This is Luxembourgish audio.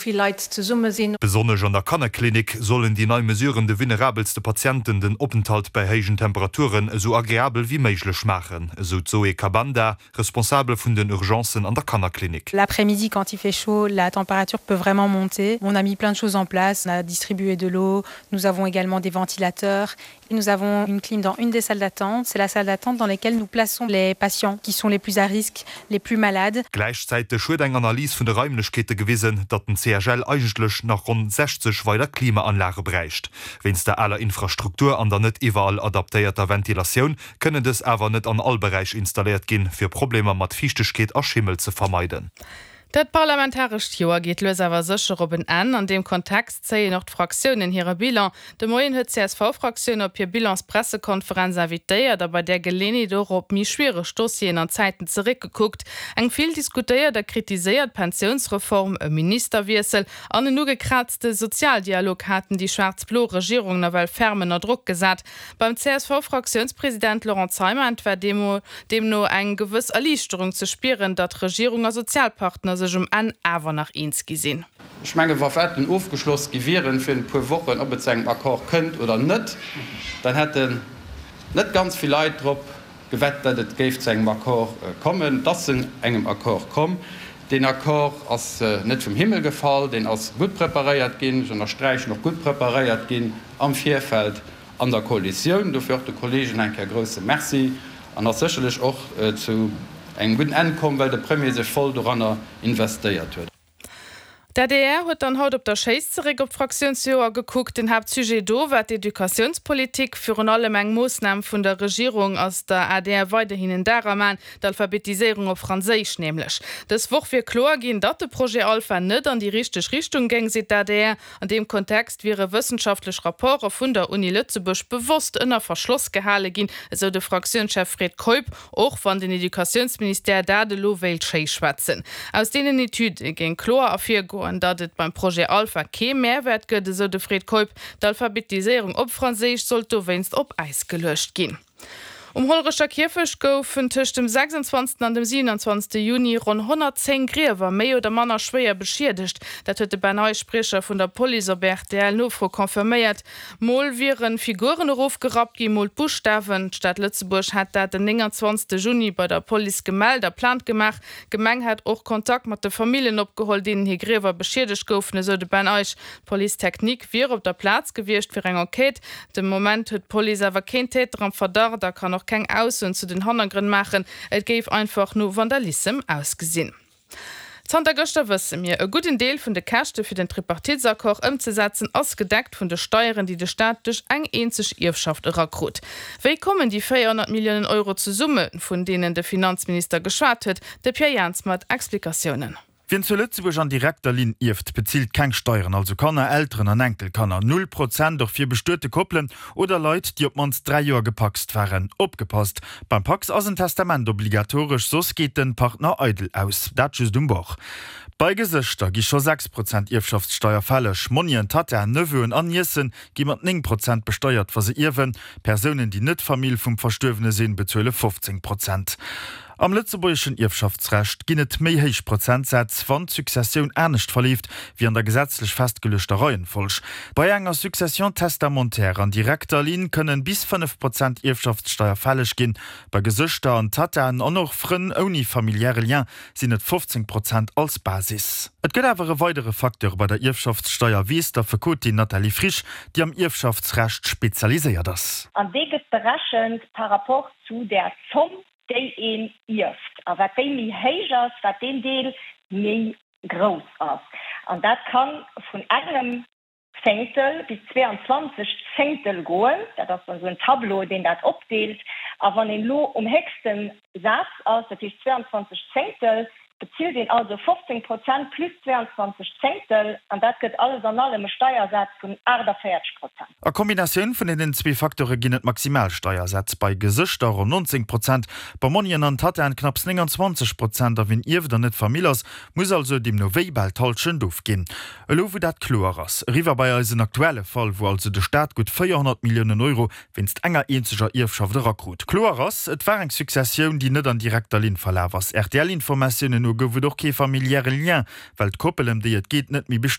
Vill Leit zesumme sinn. Besonnesch an der Kannerklinik sollen déi nei Mesuren de vulnerabelste Patienten den Openthalt bei héijen Temperaturen esou agreabel wéi méiglech maachen, esou d'Zoé Kabanda, Responsabel vun den Urgencen an der Kannerklinik. L'après-midi quand il fait chaud, la température peut vraiment monter. On a mis plein de choses en place, on a distribué de l'eau, nous avons également des ventilateurs Nous avons une clim dans une des salles d'attente, c'est la salle d'attente dans laquelle nous plaçons les patients qui sont les plus à risque, les plus malades. Gläichzäiteg huet eng Analys vun de Raimlechkeete gewisen, datt den CHL eigentlech nach ronn 60 weider Klimaanlage bräicht. Wéinst der aler Infrastruktur an der net iwwerall adaptéierter Ventilatioun kënnen dës awer net an all Beräich installéiert ginn, fir Problemer mat Fiichtegkeet a Schimmel ze vermeiden. Dat parlamentarescht Joer geet lues awer sécher op en Enn. An deem Kontext zéien och d'Fraktiounen hire Bilan. De Moien huet d'CSV-Fraktioun op hir Bilanspressekonferenz invitéiert a bei där Geleeënheet och op méi schwiereg Dossieren an Zäiten zeréckgekuckt. Eng vill diskutéiert a kritiséiert Pensiounsreform, e Ministerwiessel an en ugekraazte Sozialdialog haten déi schwaarz-blo Regierung nawell ferm ënner Drock gesat. Beim CSV-Fraktiounspresident Laurent Zeimet war deemno eng gewëss Erliichterung ze spieren, datt Regierung a Sozialpartner sech um Enn awer nach eens gi sinn. Ech menge wa Wetten ofgeschloss gi wieren virun e puer Wochen, ob et zu engem Accord kënnt oder net, dann hätten net ganz vill Leit drop gewett, datt et géif zu engem Accord kommen. Et ass zu engem Accord komm. Deen Accord ass net vum Himmel gefall, deen ass gutt preparéiert ginn, ech ënnersträichen och gutt preparéiert ginn am Virfeld an der Koalitioun. Dofir och de Kollegen eng Kéier e grouse Merci an ass sécherlech och zu engem gudden Enn komm, well de Premier sech voll doranner investéiert huet. D'adr huet dann haut op der Schéiss zeréck op d'Fraktiounsjoer gekuckt. Den Haaptsujet do war d'Educatiounspolitik. Virun allem eng Moossnam vun der Regierung ass der adr weiderhin en Dar am An, d'Alphabetiséierung op Franséisch nämlech. Dës Woch wier kloer ginn, datt de Projet Alpha net an déi richteg Richtung géing, seet d'adr. An deem Kontext wiere wëssenschaftlech Rapporte vun der Uni Lëtzebuerg bewosst ënner Verschloss gehale ginn, esou de Fraktiounschef Fred Keup, och wann den Educatiounsministère dat elo wéilt schéischwätzen. Aus deenen Etüde géing kloer ervirgoen, datt et beim Projet Alpha kee Mehrwäert gëtt, esou de Fred Keup. D'Alphabetiséierung op Franséisch sollt dowéinst op Äis geluecht ginn. Um Hollerecher Kierfecht goufen tëscht dem 26. an dem 27. Juni ronn 110 Griewer méi oder manner schwéier beschiedegt. Dat huet de Ben Ney, Spriecher vun der Police, op RTL-Nofro confirméiert. Mol wiere Figuren erofgerappt ginn, mol d'Buschtawen. D'Stad Lëtzebuerg hat dat den 29. Juni bei der Police gemellt a Plainte gemaach. D'Gemeng hätt och Kontakt mat de Familljen opgeholl, deenen hir Griewer beschiedegt goufen, esou de Ben Eich. D'Police technique wier op der Plaz gewiescht fir eng Enquête. De Moment huet d'Police awer keen Täter am Verdacht a kann och keng Aussoen zu den Hannergrënn maachen. Et géif einfach no Vandalissem ausgesinn. Zanter gëschter wësse mir, e gudden Deel vun de Käschte fir den Tripartitesaccord ëmzesetzen ass gedeckt vun de Steieren, déi de Staat duerch eng eenzeg Ierfschaft erakrut. Wéi kommen déi 400 Milliounen Euro zesumme, vun deenen de Finanzminister geschwat huet? De Pierre Jans mat Explikatiounen. Wien zu Lëtzebuerg an direkter Linn ierft, bezilt keng Steieren, also Kanner, Elteren an Enkelkanner. Null Prozent och fir bestuete Koppelen oder Leit, déi op d'mannst 3 Joer gepacst waren. Opgepasst, Beim Pacs ass en Testament obligatoresch, soss geet den Partner eidel aus. Dat just um Bord. Bei Gesëschter gi scho 6 Prozent Ierfschaftssteier fälleg. Monien, Tattaen, Neveuen an Niecen gi mat 9 Prozent besteiert, wa se ierwen. Persounen, déi net Famill vum Verstuerwene sinn, bezuele 15 Prozent. Am lëtzebuergeschen Ierfschaftsrecht ginn et méi héich Prozentsätz, wann d'Successioun anescht verleeft wéi an der gesetzlech festgeluechter Reihenfolg. Bei enger Succession testamentaire an direkter Linn kënnen bis 5 Prozent Ierfschaftssteier fälleg ginn. Bei Gesëschter an Tattaen an och Frënn ouni familiäre Lien sinn et 15 Prozent als Basis. Et gëtt awer e weidere Facteur bei der Ierfschaftssteier, weess d'Affekotin Nathalie Frisch, déi am Ierfschaftsrecht spezialiséiert ass. An dee gëtt berechent par rapport zu där Zomm, déi een ierft. A wat déi méi héich ass, wat deen Deel méi grouss ass. An dat ka vun engem Zéngtel bis 22 Zéngtel goen. Dat ass dann esou en Tableau, deen dat opdeelt. A wann een elo um héchste Saz ass, dat heescht 22 Zéngtel, bezilt een also 15 Prozent plus 22 Zéngtel. An dat gëtt alles an allem e Steiersaz vun 48 Prozent. A Kombinatioun vun deenen zwee Facteure ginn et Maximalsteiersätz, bei Gesëschter ronn 19 Prozent, bei Monnien an Tattaen knapps 29 Prozent. A wien ierft an net Famill ass, muss also deemno wéi bal d'Hallschent ofginn. Elo wou dat kloer ass, eriwwer bei eisen aktuelle Fall, wou also de Staat gutt 400 Milliounen Euro wéinst enger eenzeger Ierfschaft erakrut. Kloer ass, et war eng Successioun, déi net an direkter Linn verlaf ass. RTL-Informatiounen no. no gouf et och kee familiäre Lien, well d'Koppel, ëm déi et geet, net méi bestuet.